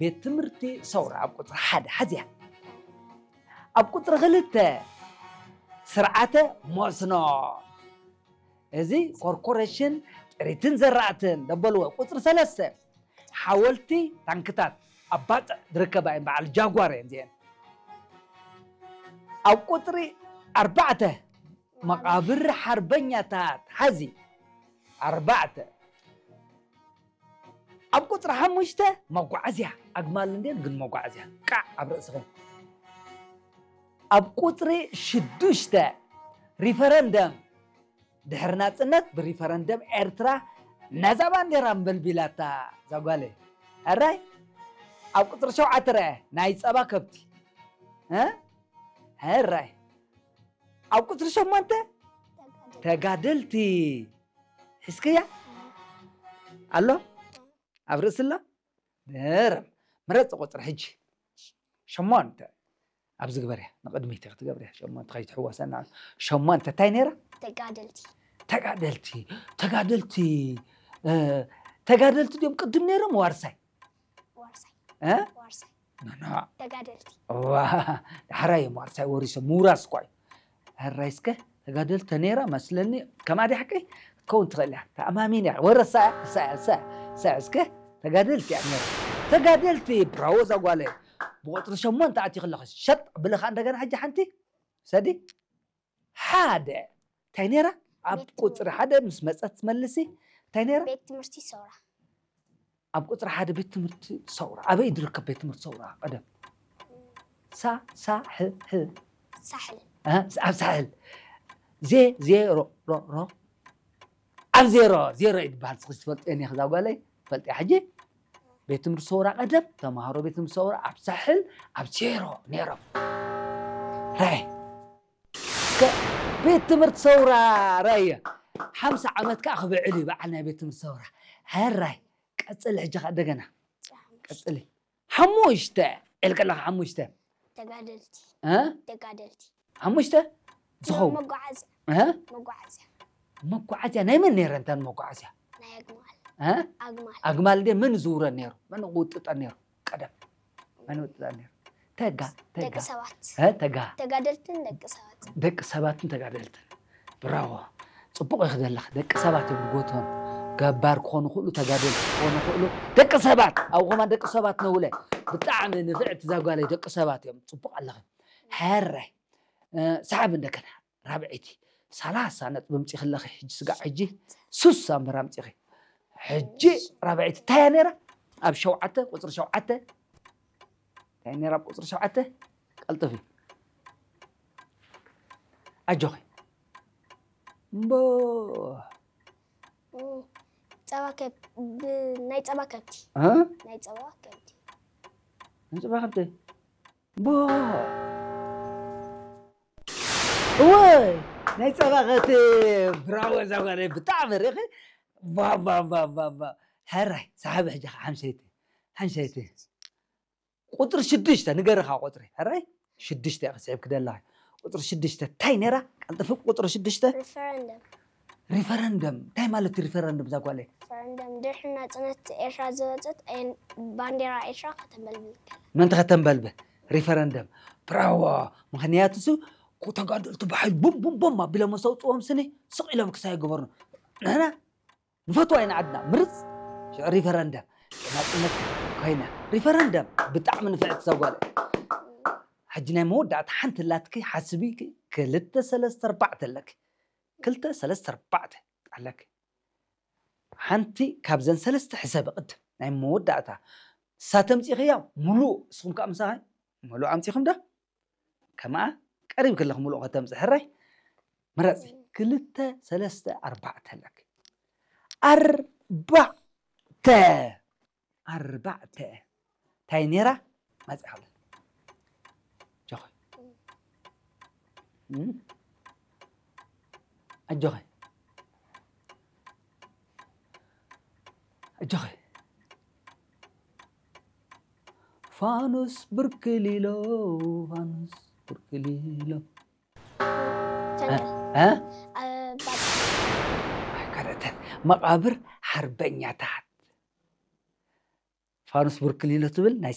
ቤት ትምህርቲ ሰውራ ኣብ ቁፅሪ ሓደ ሓዝያ። ኣብ ቁፅሪ ክልተ ስርዓተ መስኖ፣ እዚ ኮርፖሬሽን ጥሪትን ዘራእትን ደበልዎ። ቁፅሪ ሰለስተ ሓወልቲ ታንክታት ኣብ ባፅዕ ዝርከባ እየን፣ በዓል ጃጓር እየን እዚአን። ኣብ ቁፅሪ ኣርባዕተ መቓብር ሓርበኛታት ሓዚ ኣርባዕተ። ኣብ ቁፅሪ ሓሙሽተ መጓዓዝያ ኣግማል እንድየን ግን መጓዓዝያ ቃዕ ኣብ ርእስኹም። ኣብ ቁፅሪ ሽዱሽተ ሪፈረንደም፣ ድሕሪ ናፅነት ብሪፈረንደም ኤርትራ ነዛ ባንዴራ ምበልቢላታ ዛጓለይ። ሕራይ። ኣብ ቁፅሪ ሸውዓተ ረአ ናይ ፀባ ከብቲ። እ? ሕራይ። ኣብ ቁፅሪ ሸሞንተ ተጋደልቲ። ሒዝክያ ኣሎ? ኣብ ርእሲ ኣሎ? ደረም። ምረፂ ቁፅሪ ሕጂ። ሸሞንተ። ኣብዚ ግበርያ፣ ንቕድሚት ክትገብርያ። ሸሞንተ ከይትሕወሰና። ሸሞንተ እንታይ ነይራ? ተጋደልቲ። ተጋደልቲ። ተጋደልቲ። እ፣ ተጋደልቲ ድዮም ቅድም ነይሮም ዋርሳይ? ዋርሳይ። እ? ዋርሳይ። ኖ፣ ኖ። ተጋደልቲ። ዋ፣ ዳሕራይ እዮም ዋርሳይ ወሪሶም። ምውራስ እኳ እዩ። ሕራይ እስከ ተጋደልቲ ነይራ መስለኒ። ከማ ድያ ሓቀይ ክትከውን ትኽእል እያ። ተኣማሚን እያ። ወረሳ እያ፣ እሳ እያ፣ እሳ እያ፣ እሳ እያ። እስከ ተጋደልቲ እያ ነይራ። ተጋደልቲ፣ ብራዎ እዛ ጓለይ። ብቁፅሪ ሸሞንተ ኣትዩ ከለኹ ሸጥ ብልኻ እንደገና ሕጂ ሓንቲ ሰዲ ሓደ። እንታይ ነይራ? ኣብ ቤት ቁፅሪ ትምህርቲ። ሓደ ምስ መፀት ትመልሲ። እንታይ ነይራ? ቤት ትምህርቲ ሰውራ። ኣብ ቁፅሪ ሓደ ቤት ትምህርቲ ሰውራ። ኣበይ ዝርከብ ቤት ትምህርቲ ሰውራ? ቀደም። ሳ፣ ሳ፣ ሕ፣ ሕ። ሳሕል። እ? ኣብ ሳሕል። ዜ፣ ዜሮ፣ ሮ፣ ሮ። ኣብ ዜሮ፣ ዜሮ እዩ ዝበሃል። እስኺ ትፈልጥዮ እኒኺ እዛ ጓለይ? ትፈልጥያ ሕጂ? ቤት ትምህርቲ ሰውራ ቀደም፣ ተምሃሮ ቤት ትምህርቲ ሰውራ ኣብ ሳሕል፣ ኣብ ዜሮ ነይሮም። ራይ። ከ-፣ ቤት ትምህርቲ ሰውራ ራየ። ሓምሳ ዓመት ከዓ ክብዕል እዩ በዓል ናይ ቤት ትምህርቲ ሰውራ። ሕራይ። ቀፅል ሕጂ ከዓ እንደገና። ቀፅሊ። ሓሙሽተ። ኢልከ ኣለኻ ሓሙሽተ። ተጋደልቲ። እ? ተጋደልቲ። ሓሙሽተ? ዝኸውን። መጓዓዝያ። እ? መጓዓዝያ። መጓዓዝያ ናይ መን ነይረን እተን መጓዓዝያ? ናይ ኣግማል። እ? ኣግማል። ኣግማል እንዴ መን ዝውረን ነይሩ? መን ዝውጥጠን ነይሩ? ቀደም። መን ዝውጥጠን ነይሩ? ተጋ፣ ተጋ። ደቂ ሰባት። እ? ተጋ። ተጋደልትን ደቂ ሰባት። ደቂ ሰባትን ተጋደልትን። ብራቮ። ጽቡቕ ኢኺ ዘለኺ። ደቂ ሰባት እዮም ዝጎትሆም። ገባር ክኾኑ ይኽእሉ፣ ተጋደልቲ ክኾኑ ይኽእሉ። ደቂ ሰባት። ኣብኡ ከማን ደቂ ሰባት ነውለ። ብጣዕሚ ንፍዕቲ እዛ ጓለይ ደቂ ሰባት እዮም። ጽቡቕ ኣለኺ። ሕራይ። እ፣ ሰሓቢ እንደገና። ራብዐይቲ። ሰላሳ ነጥቢ ኣምጺኺ ኣለኺ። ሕጂ ስጋዕ ሕጂ ሱሳ እምበር ኣምጺኺ። ሕጂ ራብዐይቲ እንታይ እያ ነይራ? ኣብ ሸውዓተ፣ ቁጽሪ ሸውዓተ። እንታይ ነይራ ኣብ ቁጽሪ ሸውዓተ? ቀልጥፊ። ኣጆኺ። እምቦ። እ፣ ጸባ ከብ-፣ ብ-፣ ናይ ጸባ ከብቲ። እ? ናይ ጸባ ከብቲ። ናይ ጸባ ከብቲ? እምቦ። እወይ፣ ናይ ጸባ ከብቲ። ብራቮ፣ እዛ ጓለይ ብጣዕሚ ርኢኺ። ባ፣ ባ፣ ባ፣ ባ፣ ባ። ሕራይ፣ ሰሓቢ ሕጂ ኸዓ ሓምሸይቲ። ሓምሸይቲ። ቁፅሪ ሽዱሽተ ንገርኻ ቁፅሪ። ሕራይ? ሽዱሽተ ኢኻ ስሒብኪ ደለኻ። ቁፅሪ ሽዱሽተ እንታይ ነይራ? ቀልጥፊ ቁፅሪ ሽዱሽተ። ሪፈረንደም። ሪፈረንደም። እንታይ ማለት እዩ ሪፈረንደም እዛ ጓለይ? ሪፈረንደም ድሕሪ ናፅነት ኤርትራ ዝወፀት ኣየን-፣ ባንዴራ ኤርትራ ከተንበልብል ከላ። ምእንቲ ከተንበልብል? ሪፈረንደም። ብራዎ። ምኽንያቱ እሱ ተጋደልቲ ብሓይሊ ቡም ቡም ቡም ኣቢሎም ምስ ኣውፅዎም ስኒ ስቕ ኢሎም ክሳይ ይገበሩ። ንሕና ንፈትዋ ኢና ዓድና። ምርፅ ሽዑ ሪፈረንደም ናፅነት ኮይና። ሪፈረንደም ብጣዕሚ ንፍዕቲ እዛ ጓል። ሕጂ ናይ መወዳእታ ሓንቲ ኣላትኪ ሓስቢ። ክልተ ሰለስተ ኣርባዕተ ኣለኪ። ክልተ ሰለስተ ኣርባዕተ ኣለኪ። ሓንቲ ካብዘን ሰለስተ ሕሰቢ ቅድም ናይ መወዳእታ። እሳ ተምፂኽያ ሙሉእ፣ እስኹም ከዓ ምሳኻ ሙሉእ ኣምፂኹም ዶ? ከምኣ ቀሪብ ከለኺ ሙሉእ ከተምፅእ ሕራይ። ምረፂ። ክልተ፣ ሰለስተ፣ ኣርባዕተ ኣለኪ። ኣርባዕተ። ኣርባዕተ። እንታይ ነይራ? መፅእ ሃለ። ኣጆኺ። እም? ኣጆኺ። ኣጆኺ። ፋኑስ ብርክሊሎ፣ ፋኑስ ብርክሊሎ። ፈንቅል። እ? እ? እ፣ ባጽዕ። ኣይ፣ ካልኦተን። መቓብር ሓርበኛታት። ፋኑስ ብርክሊሎ ትብል ናይ